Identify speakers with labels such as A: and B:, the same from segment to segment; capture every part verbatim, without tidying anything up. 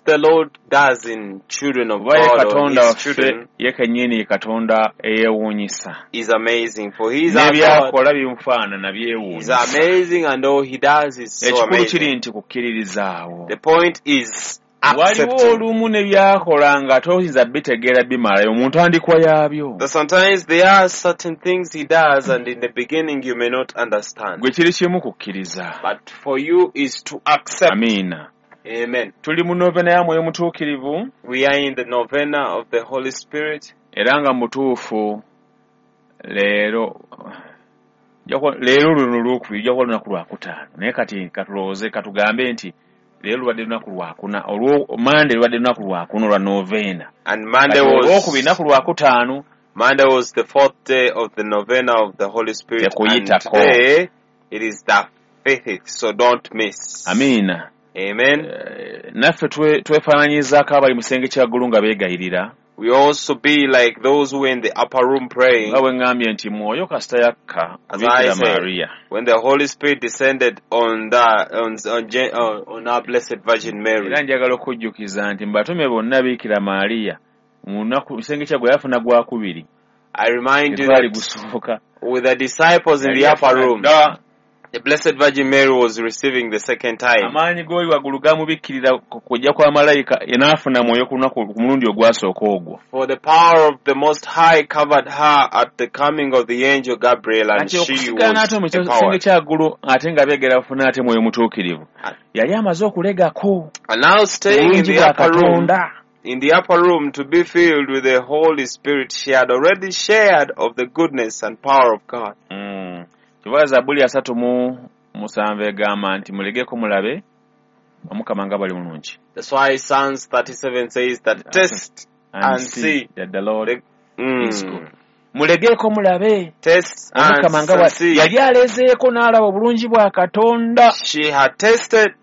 A: the Lord does in children of
B: Kuba ye
A: God or
B: Katonda
A: His
B: waffe
A: children
B: ye kennyini ye Katonda eyeewuunyisa.
A: is amazing. For He is our God.
B: N'ebyakola bimufaanana
A: He's
B: byewuunyisa.
A: amazing, and all He does is so
B: Ekikulu kiri
A: amazing.
B: nti kukkiririzaawo.
A: The point is
B: Waliwo
A: accepting.
B: olumu ne byakola nga toyinza bitegeera bimalayo mu ntandikwa yaabyo.
A: That sometimes there are certain things He does, and in the beginning you may not understand.
B: Gwe kiri kimu kukkiriza.
A: But for you is to accept.
B: Amiina.
A: Amen.
B: Tuli mu novena ya Mwoyo Mutuukirivu
A: We are in the novena of the Holy Spirit.
B: era nga mutuufu leero Nja kuba- leero luno olwokubiri ojja kuba lunaku lwakutaano naye kati katulowooze katugambe nti leero lubadde lunaku lwakuna olwo Mande lubadde lunaku lwakuna olwa novena.
A: And Monday
B: Kati olwokubiri
A: was
B: lunaku lwakutaano
A: Monday was the fourth day of the novena of the Holy Spirit, and
B: Tekuyitako.
A: today it is the fifth, so don't miss.
B: Amiina.
A: Amen.
B: Eh, naffe twe- twefaananyizaako abali mu kisenge kya ggulu nga beegayirira.
A: We also be like those who were in the upper room praying
B: Nga bwe ŋŋambye nti mwoyo kasita yakka
A: As
B: Bikira
A: I said,
B: Maria.
A: when the Holy Spirit descended on the on on, Gen- on, on our Blessed Virgin Mary.
B: Era njagala okujjukiza nti mu batume bonna Bikira Maria mu lunaku kisenge kya gwe yafuna gwakubiri.
A: I remind you
B: Tegwali
A: that
B: gusooka.
A: with the disciples in
B: Yali
A: the upper
B: yafuna
A: room,
B: dda.
A: the Blessed Virgin Mary was receiving the second time.
B: Amaanyi g'oli waggulu gamubikkirira ku kujja kwa malayika n'afuna mwoyo ku lunaku ku mulundi ogwasooka ogwo.
A: For the power of the Most High covered her at the coming of the angel Gabriel, and
B: Kati
A: she
B: okusigala
A: was
B: n'ate mu kisenge
A: empowered.
B: kya ggulu ate nga beegera bafuna ate mwoyo mutuukirivu. Yali amaze okulegako
A: And now staying in
B: obulungi
A: the
B: bwa
A: upper room,
B: Katonda.
A: in the upper room to be filled with the Holy Spirit, she had already shared of the goodness and power of God.
B: Mm. Kyova Zabbuli asatu mu musanvu egamba nti mulegeko mulabe Omukama nga bali mulungi.
A: That's why Psalms thirty-seven says that test
B: And
A: and
B: see
A: see
B: that the Lord
A: the,
B: is good.
A: mm,
B: Mulegeeko mulabe
A: test and,
B: Omukama nga
A: and
B: bwa-
A: see.
B: yali alezeeko n'alaba obulungi bwa Katonda.
A: She had tested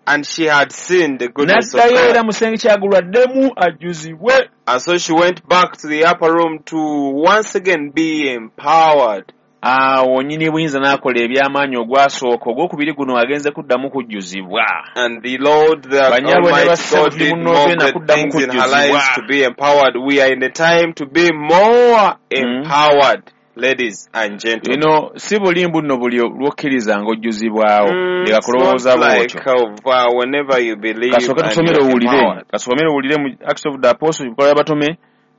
A: and she had seen the goodness of
B: N'addayo era
A: God.
B: mu kisenge kya ggulu addemu ajjuzibwe.
A: And so she went back to the upper room to once again be empowered.
B: Awo nnyini buyinza n'akola eby'amaanyi ogwasooka ogwokubiri guno agenze kuddamu kujjuzibwa.
A: And the Lord, the
B: Banyabwe ne
A: Almighty
B: bassebo
A: God,
B: tuli
A: did
B: mu
A: more
B: novena
A: great
B: kuddamu
A: things in her
B: kujjuzibwa.
A: lives to be empowered. We are in the time to be more
B: Mm.
A: empowered, ladies and gentlemen.
B: Bino si bulimbu nno buli lw'okkiriza ng'ojjuzibwawo.
A: Mm,
B: Leka
A: it's
B: kulowooza
A: not like
B: bw'otyo.
A: of, uh, whenever you believe
B: Kasooke
A: and
B: tusomere
A: you're
B: owulire.
A: empowered.
B: Kasomere owulire mu Acts of the Apostles, ebikolwa by'abatume,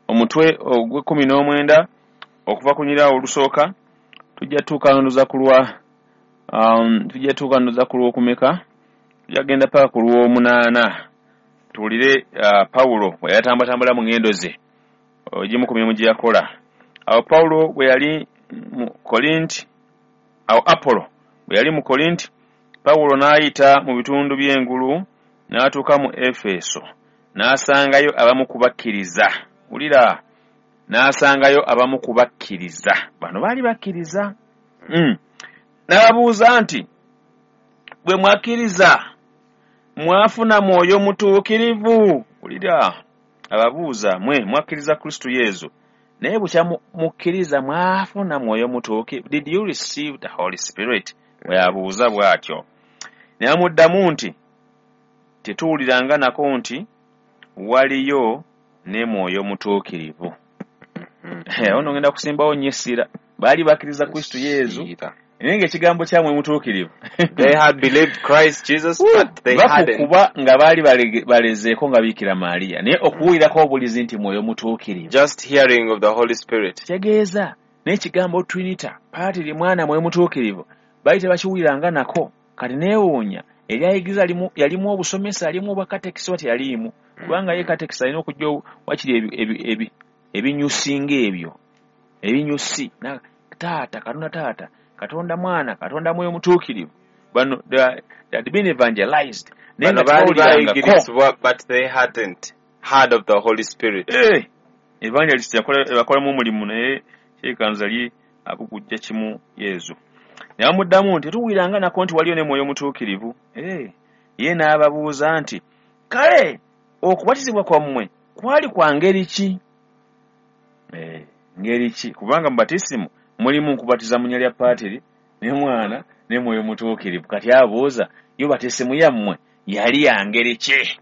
B: omutwe ogw'ekkumi n'omwenda okuva ku nyiraawo olusooka tujja tuuka ku lwa um, tujja tuuka ku lw'okumeka tujja kugenda paka ku lw'omunaana tuwulire uh, Pawulo bwe yatambatambula mu ŋŋendo ze egimu ku mirimu gye yakola. Awo Pawulo bwe yali mu Korinti, awo Apollo bwe yali mu Korinti, Pawulo n'ayita mu bitundu by'engulu n'atuuka mu Efeso n'asangayo abamu ku bakkiriza. Wulira, n'asangayo abamu ku bakkiriza. Bano baali bakkiriza. Mm. N'ababuuza nti, bwe mwakkiriza mwafuna mwoyo mutuukirivu? Wulira, ababuuza mwe mwakkiriza Kristo Yesu naye bukya mukkiriza mwafuna mwoyo mutuukirivu? Did you receive the Holy Spirit? Bwe yabuuza bw'atyo. Ne bamuddamu nti tetuwuliranga nako nti waliyo ne mwoyo mutuukirivu. Awo nno ngenda kusimbawo nnyo essira. Baali bakkiriza Kristo Yesu naye ng'ekigambo kya mwoyo mutuukirivu.
A: They had believed Christ Jesus, but they hadn't.
B: Bakukuba nga baali balege- balezeeko nga Bikira Maria naye okuwulirako obulizi nti mwoyo mutuukirivu.
A: Just hearing of the Holy Spirit.
B: Kitegeeza n'ekigambo Trinita, Patiri, Mwana, Mwoyo Mutuukirivu baali tebakiwuliranga nako. Kati neewuunya eryayigiriza limu- yalimu obusomesa yalimu obwakatekisi oba teyaliimu kubanga ye katekisi alina okujja wakiri ebi- ebi- ebi- ebinyusi ng'ebyo ebinyusi Na- taata Katonda taata Katonda mwana Katonda Mwoyo Mutuukirivu bano they are- they had been evangelized naye
A: Bano
B: nga
A: baali
B: tebawulirangako.
A: bayigirizibwa, but they hadn't heard of the Holy Spirit.
B: Eh, evangelist yakola yakolamu omulimu naye kyekanza li abugujja kimu Yesu. Ne bamuddamu nti tetuwuliranga nako nti waliyo ne Mwoyo Mutuukirivu. Eh, ye n'ababuuza nti kale okubatizibwa kwammwe kwali kwa ngeri ki? Eh, ngeri ki? Kubanga mu batisimu mulimu nkubatiza mu nnya lya Patiri ne Mwana ne Mwoyo Mutuukirivu. Kati abuuza yo batisimu yammwe yali ya ngeri ki?